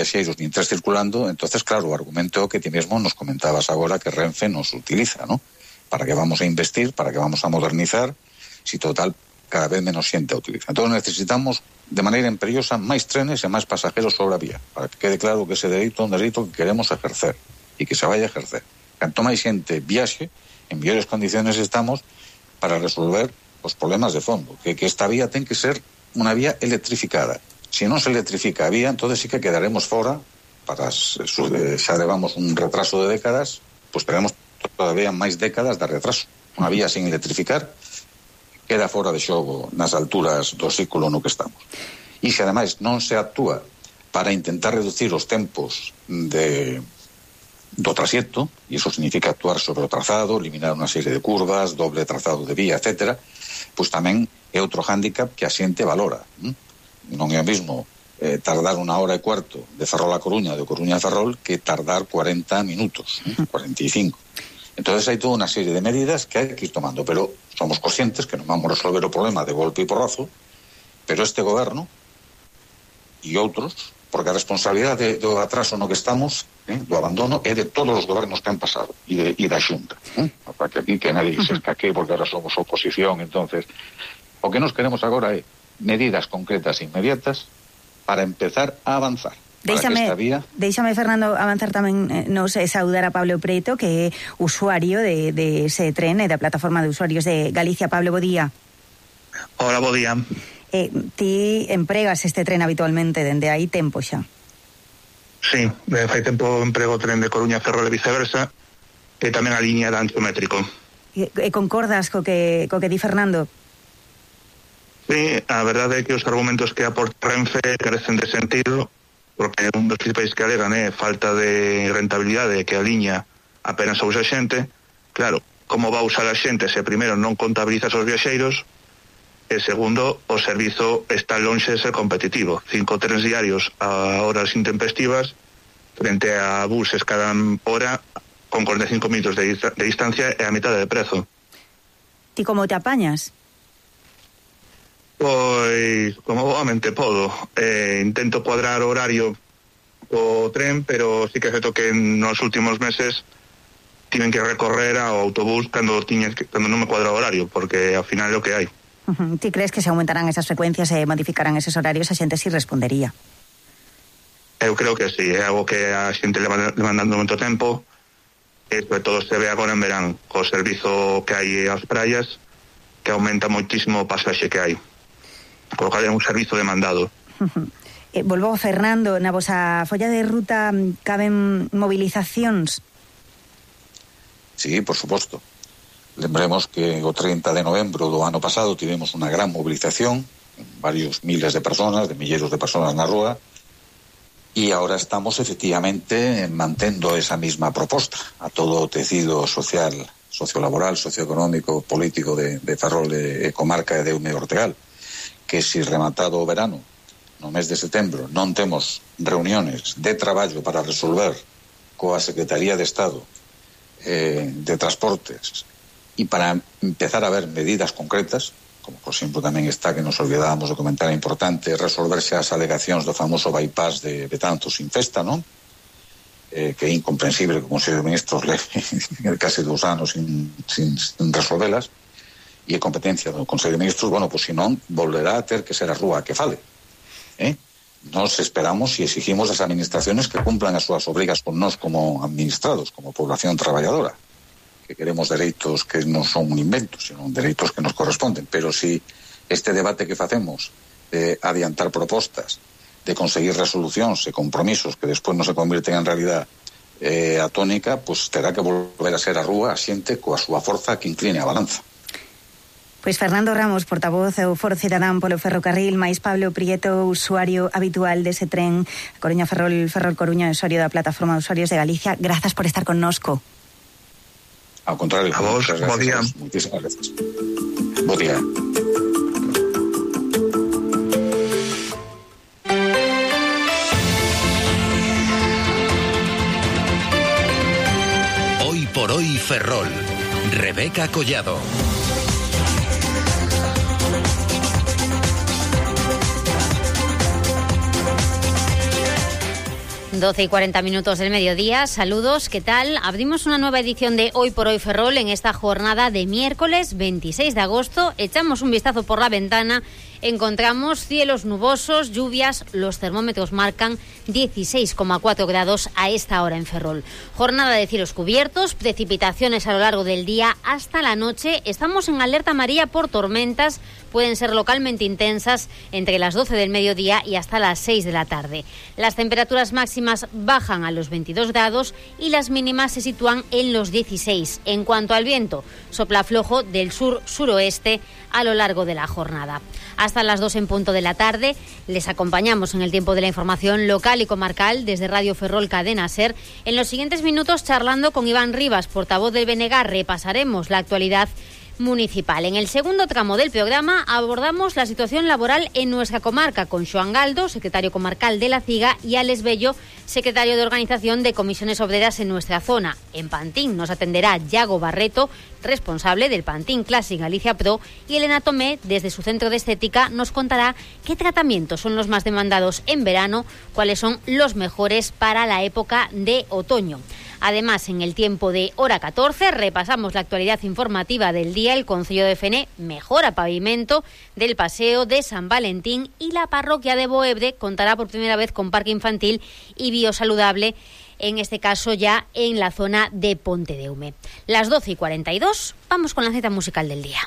viaxeiros nin tres circulando, entonces claro, o argumento que ti mesmo nos comentabas agora que Renfe nos utiliza, ¿no? Para que vamos a investir, para que vamos a modernizar, si total cada vez menos xente a utiliza. Entón necesitamos de maneira imperiosa máis trenes e máis pasajeros sobre a vía, para que quede claro que ese dereito é un dereito que queremos ejercer e que se vai a ejercer. Canto máis xente viaxe, en mellores condiciones estamos para resolver os problemas de fondo, que esta vía ten que ser unha vía electrificada. Se non se electrifica a vía, entonces sí que quedaremos fora, xa levamos un retraso de décadas, pois teremos todavía máis décadas de retraso. Unha vía sin electrificar queda fora de xogo nas alturas do século no que estamos. E se ademais non se actúa para intentar reducir os tempos do traxecto, e iso significa actuar sobre o trazado, eliminar unha serie de curvas, doble trazado de vía, etc., pois tamén é outro hándicap que a xente valora. Non é o mesmo tardar 1 hora e cuarto de Ferrol a Coruña, de Coruña a Ferrol, que tardar 40 minutos, 45. Entonces hai toda unha serie de medidas que hai que ir tomando, pero somos conscientes que non vamos a resolver o problema de golpe e porrazo, pero este goberno e outros, porque a responsabilidade do atraso no que estamos, do abandono, é de todos os gobernos que han pasado e da Xunta. Para que aquí que nadie se escaque porque ahora somos oposición. Entonces, o que nos queremos agora é medidas concretas e inmediatas para empezar a avanzar. Déixame, Fernando, avanzar tamén nos saudar a Pablo Preto, que é usuario de ese tren e da plataforma de usuarios de Galicia. Pablo, bo día. Hola, bo día. Ti empregas este tren habitualmente dende aí tempo xa? Sí, fai tempo emprego o tren de Coruña a Ferrol e viceversa, e tamén a liña de ancho métrico. E concordas co que di Fernando? Sí, a verdade é que os argumentos que aporta Renfe carecen de sentido, porque un dos principais que alegan é falta de rentabilidade, que a liña apenas a usa xente. Claro, como va a usar a xente se primeiro non contabilizas os viaxeiros, e segundo, o servizo está lonxe de ser competitivo. 5 trenes diarios a horas intempestivas frente a buses cada hora con 45 minutos de distancia e a mitad de prezo. Ti como te apañas? Pois, como obviamente podo, intento cuadrar o horario o tren, pero sí que é certo que nos últimos meses tiven que recorrer ao autobús cando non me cuadra o horario, porque ao final é o que hai. Ti crees que se aumentarán esas frecuencias e modificarán esos horarios, a xente si respondería? Eu creo que sí, é algo que a xente leva demandando moito tempo, e sobre todo se ve agora en verán, co servizo que hai ás praias, que aumenta moitísimo o pasaxe que hai. Colocar un servizo demandado. Volvo, Fernando, na vosa folla de ruta caben movilizacións? Sí, por suposto. Lembremos que o 30 de novembro do ano pasado tivemos unha gran movilización, varios miles de personas, de milleiros de personas na rúa, e agora estamos efectivamente mantendo esa misma proposta a todo o tecido social, sociolaboral, socioeconómico, político de Ferrol e comarca de Deume e Ortegal, que se rematado o verano, no mes de setembro, non temos reuniones de traballo para resolver coa Secretaría de Estado de Transportes e para empezar a ver medidas concretas, como por exemplo tamén está que nos olvidábamos de comentar, importante resolverse as alegacións do famoso bypass de Betanzos sin festa, non? Que é incomprensible que o Consello de Ministros leve case 2 anos sin resolvelas, e a competencia do Consello de Ministros, bueno, pois se non, volverá a ter que ser a rúa que fale. Nos esperamos e exigimos as administraciones que cumplan as súas obrigas con nós como administrados, como población traballadora, que queremos dereitos que non son un invento, sino dereitos que nos corresponden. Pero si este debate que facemos de adiantar propostas, de conseguir resolucións e compromisos que despois non se convirten en realidad a tónica, pois terá que volver a ser a rúa a xente coa súa forza que incline a balanza. Pois Fernando Ramos, portavoz do Foro Cidadán polo ferrocarril, máis Pablo Prieto, usuario habitual dese tren Coruña Ferrol Coruña, usuario da plataforma de usuarios de Galicia. Grazas por estar connosco. Ao contrario, a vos, bo día. Muchísimas gracias. Bo día. Hoy por hoy Ferrol. Rebeca Collado. 12 y 40 minutos del mediodía, saludos, ¿qué tal? Abrimos una nueva edición de Hoy por Hoy Ferrol en esta jornada de miércoles 26 de agosto. Echamos un vistazo por la ventana, encontramos cielos nubosos, lluvias, los termómetros marcan 16,4 grados a esta hora en Ferrol. Jornada de cielos cubiertos, precipitaciones a lo largo del día hasta la noche. Estamos en alerta amarilla por tormentas, pueden ser localmente intensas entre las 12 del mediodía y hasta las 6 de la tarde. Las temperaturas máximas bajan a los 22 grados y las mínimas se sitúan en los 16. En cuanto al viento, sopla flojo del sur-suroeste a lo largo de la jornada. Hasta las 2 en punto de la tarde les acompañamos en el tiempo de la información local y comarcal desde Radio Ferrol Cadena SER. En los siguientes minutos, charlando con Iván Rivas, portavoz del BNG, repasaremos la actualidad municipal. En el segundo tramo del programa abordamos la situación laboral en nuestra comarca con Xoán Galdo, secretario comarcal de La Ciga, y Alex Bello, secretario de organización de comisiones obreras en nuestra zona. En Pantín nos atenderá Yago Barreto, responsable del Pantín Classic Galicia Pro, y Elena Tomé, desde su centro de estética, nos contará qué tratamientos son los más demandados en verano, cuáles son los mejores para la época de otoño. Además, en el tiempo de hora 14 repasamos la actualidad informativa del día. El Concello de Fene mejora pavimento del paseo de San Valentín y la parroquia de Boebre contará por primera vez con parque infantil y biosaludable, en este caso ya en la zona de Pontedeume. Las 12 y 42, vamos con la cita musical del día.